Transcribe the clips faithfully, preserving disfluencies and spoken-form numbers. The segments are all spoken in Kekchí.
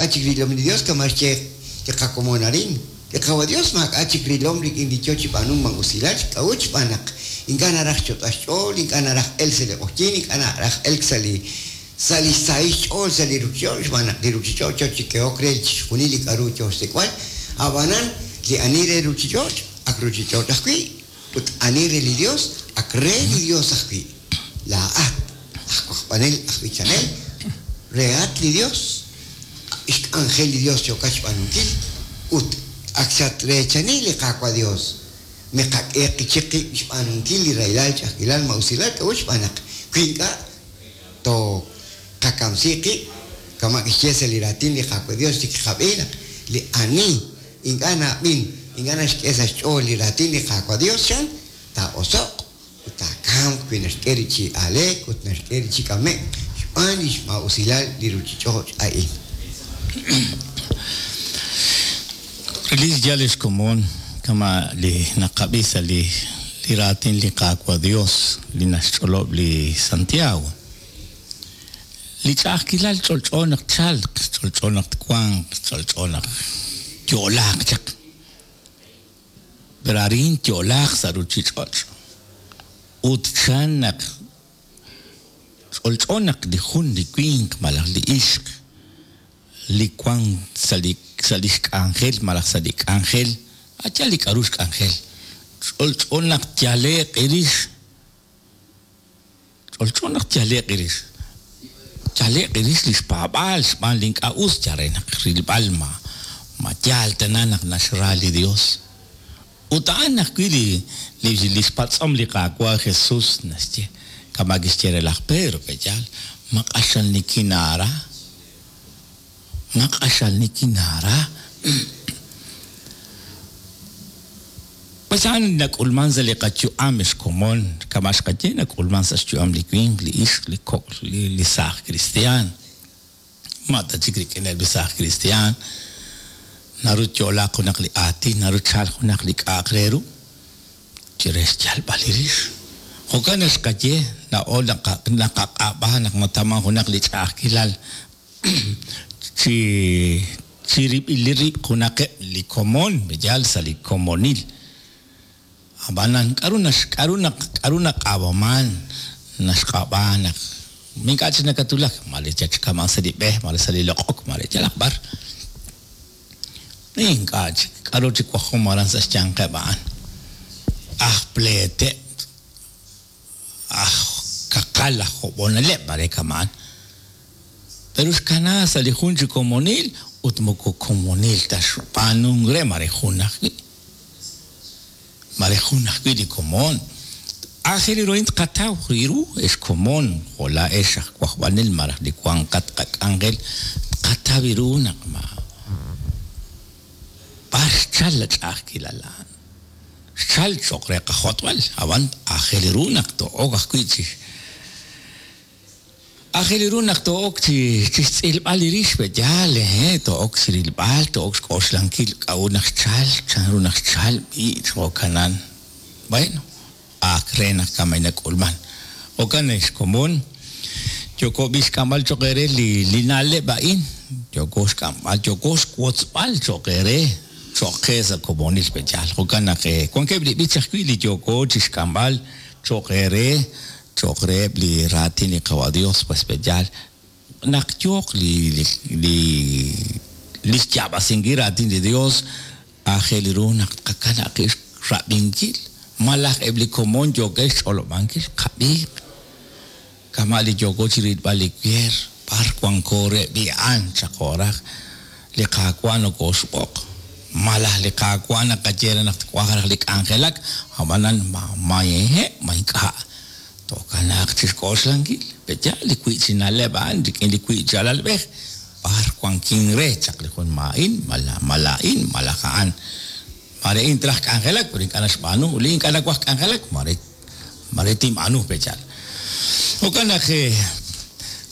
maak'a' chik rilom li Dios kama' xye li qakomon arin. Li Qaawa' Dios maak'a' chik rilom rik'in li yo chi b'aanunk maa'usilal, k'a'ut xb'aan naq ink'a' naraj xch'otb'al xch'ool, ink'a' naraj elk sa' li q'oqyink, ink'a' naraj elk sa' li sa' li xsahil xch'ool sa' li ruuchich'och' xb'aan naq li ruuchich'och' yo chi kehok re chixjunil li k'aru yo xsik'b'al. Ab'anan li ani re ruuchich'och' ak ruuchich'och' ajwi' ut ani re li Dios ak re li Dios ajwi'. Laa'at aj wajb'anel aj b'ichanel rehat li Dios, xk'anjel li Dios yookat xb'aanunkil ut ak xatreechani li Qaawa' Dios. Miqak'e qichik qib' xb'aanunkil li rahilal, ch'a'ajkilal, ma'usilal, k'a'ut xb'aan naq wi ink'a' tooqakamsi qib' kama' kixye sa' li raatin li Qaawa' Dios li kiqab'i naq li ani ink'a' na'ab'in, ink'a' naxk'e sa' xch'ool li raatin li Qaawa' Dios chan taa'oso'q ut taakamq wi naxk'e rib' chi aaleek ut naxk'e rib' chi k'ame'k xb'aan li xmaa'usilal li ruuchich'och' a'in. Relik yal ex komon kama' li naqab'i sa' li li raatin li Qaawa' Dios li naxch'olob' li Santiago. Li ch'a'ajkilal ch'olch'o naq chalq, ch'olch'o naq twanq, ch'olch'o naq yo'laaq chaq. Pero arin yo'laaq sa' ruuchich'och'. Ut chan naq ch'olch'o naq li jun li winq malaj li ixq li wan sa' li sa' li xk'anjel malaj sa' li k'anjel, acha li k'aru xk'anjel. Ch'olch'o naq yale'q irix. Ch'olch'o naq yale'q irix. Yale'q irix li xpaab'aal xb'aan li ink'a' us yal re naq rilb'al ma ma yaal tana naq naxra li Dios. Ut a'an ajwi' li li li xpatz'om li Qaawa' Jesus naxye kama' kixye re laj Pedro pe'yaal ma q'axal nikinaara, ma q'axal nikinaara. Pues a'an nak'ulman sa' li qayu'am ex komon kama' xqaye nak'ulman sa' xyu'am li winq, li ixq, li kok', li li saaj cristian. Ma ta chik rik'ineb' li saaj cristian naru yo'laaq junaq li aatin, naru chalq junaq li k'a'aq re ru chire xyalb'al li rix. Jo'kan naq xqaye laa'o naqaq'ab'a naq nataman junaq li ch'a'ajkilal chi chi rib'il li rib' junaqeb' li komon, yal sa' li komonil. Ab'anan k'aru nax k'aru naq k'aru naq'ab'aman naxq'ab'a naq ink'a' chik nakatulak mare chachkaman sa' li b'e, mare sa' li loq'ok, mare yalaq b'ar. Ink'a' chik k'aru chik wajom aran sa' xyanqeb' a'an. Aj pleeteb', aj kaqal, aj job'oneleb' mare kama'an. Pero xkana sa' li jun chi komonil ut moko komonil ta xb'aanunk re mare jun ajwi'. Mare jun ajwi' li komon. Aajel ru a'in tqataw ru ex komon, jo' laa'ex aj wajb'anel malaj li wanqat qak'anjel tqataw ru naq ma b'ar xchal la ch'a'ajkilal a'an. Xchal cho'q re qajotb'al, ab'an aajel ru naq to'ok ajwi' chi aajel ru naq to'ok chi chi xtz'ilb'al li rix pe'yaal, eh, to'ok chi rilb'al, to'ok xk'oxlankil k'a'ut naq xchal, chan ru naq xchal, b'i' jo'kanan. Bueno, ak re naq kamay nak'ulman. Jo'kan ex komon, yoko b'i xk'amb'al cho'q eere li li na'leb' a'in, yoko xk'amb'al, yoko xwotzb'al cho'q eere, cho'q qe sa' komonil pe'yaal. Jo'kan naq wankeb' li b'ich ajwi' li yoko chi xk'amb'al cho'q eere, cho'q reheb' li raatin li Qaawa' Dios, pues pe'yaal naq yooq li li li li xyaab'asinkil raatin li Dios, aajel ru naq tqakanab' qib' xrab'inkil, malaj eb' li komon yookeb' xch'olob'ankil qab'iiq. Kama' li yoko chi rilb'al li weer, b'ar wanko re b'i'an chaqo'raj li Qaawa' nokooxb'oq. Malaj li Qaawa' naqaye re naq twaj raj li k'anjelak, ab'anan ma mayehe' ma ink'a' tokanaaq chi xk'oxlankil. Pe'yaal li wi' chi na'leb' a'an rik'in li wi' chi alalb'ej, b'ar wankin re chaq li jun ma'in, mala mala'in, malaj a'an. Mare in traj k'anjelak, pero ink'a' naxb'aanu, li ink'a' nawaj k'anjelak, mare mare tinb'aanu pe'yaal. Jo'kan naq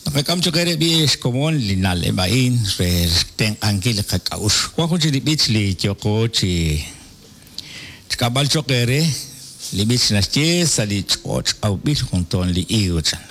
naqak'am cho'q eere b'i ex komon li na'leb' a'in re xtenq'ankil li qak'a'uxl. Wan jun chi li b'ich li yoko chi xk'amb'al cho'q eere, li b'ich naxye sa' li ch'och' awb'il jun toon li higo chan.